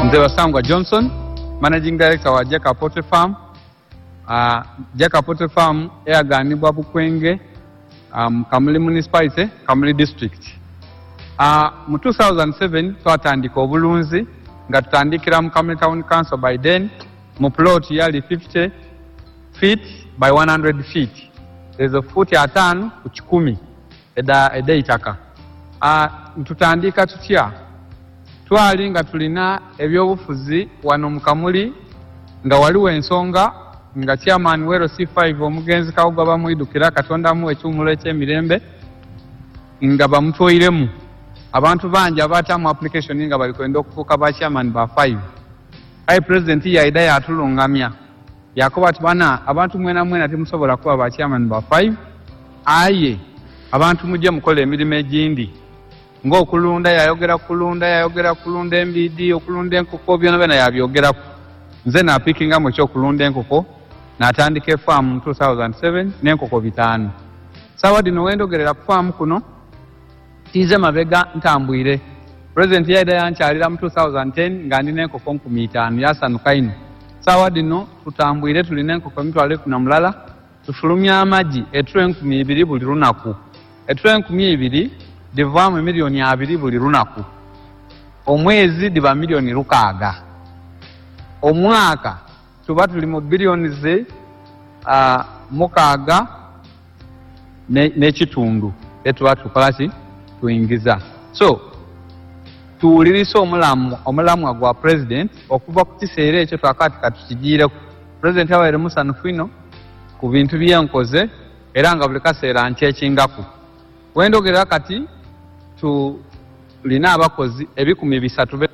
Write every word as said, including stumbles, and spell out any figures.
Nze Basangwa Johnson, Managing Director wa Jeka Poultry Farm. Uh, Jeka Poultry Farm eyaganibwa Bukwenge, um, Kamuli Municipality, Kamuli District. Uh, mu two thousand seven twatandika obulunzi nga tutandikira mu Kamuli Town Council by then mu plot yali fifty feet by one hundred feet. Ezo futi ataano ku kikumi eda edeitaka. Uh, tutandika tutya? Twali nga tulina ebyobufuzi wano mu Kamuli nga waliwo ensonga nga chairman wero C five omugenzi Kawuga bamwidukira Katonda amuwe ekiwummulo eky'emirembe nga bamutwoiremu abantu bangi abaatamu application nga bali kwenda okufuuka ba chairman ba five. Aye president yaida yatulungamya yakoba ati bana abantu mwena mwena timusobola kuba ba chairman ba five, aye abantu mujje mukole emirimu egindi ng'okulunda. Yayogera kulunda, yayogera kulunda embiidi, okulunda enkoko, byona byona yabyogeraku. Nze napikingamu ekyokulunda enkoko natandika efaamu mu two thousand seven n'enkoko bitaano. Saawa dino wendogerera ku faamu kuno tiize mabega ntambwire. President yaida yankyalira mu two thousand ten nga ndina enkoko nkumi itaano, yasanuka ino. Saawa dino tutambwire tulina enkoko emitwalo ekumi na mulala, tufulumya amagi eturo enkumi ibiri buli lunaku. Eturo enkumi ibiri divaamu emiliyoni abiri buli lunaku. Omwezi diba miliyoni lukaaga. Omwaka tuba tuli mu biliyoni ze uh, mukaaga n'ekitundu etuba tukola ki tuyingiza. So tuwulirisa omulamu omulamwa gwa president okuva ku kiseera ekyo twakati katukigiireko. President abaire musanufu ino ku bintu byenkoze era nga buli kaseera nkyekingaku. Wendogerera kati tulina abakozi ebikumi bisatu.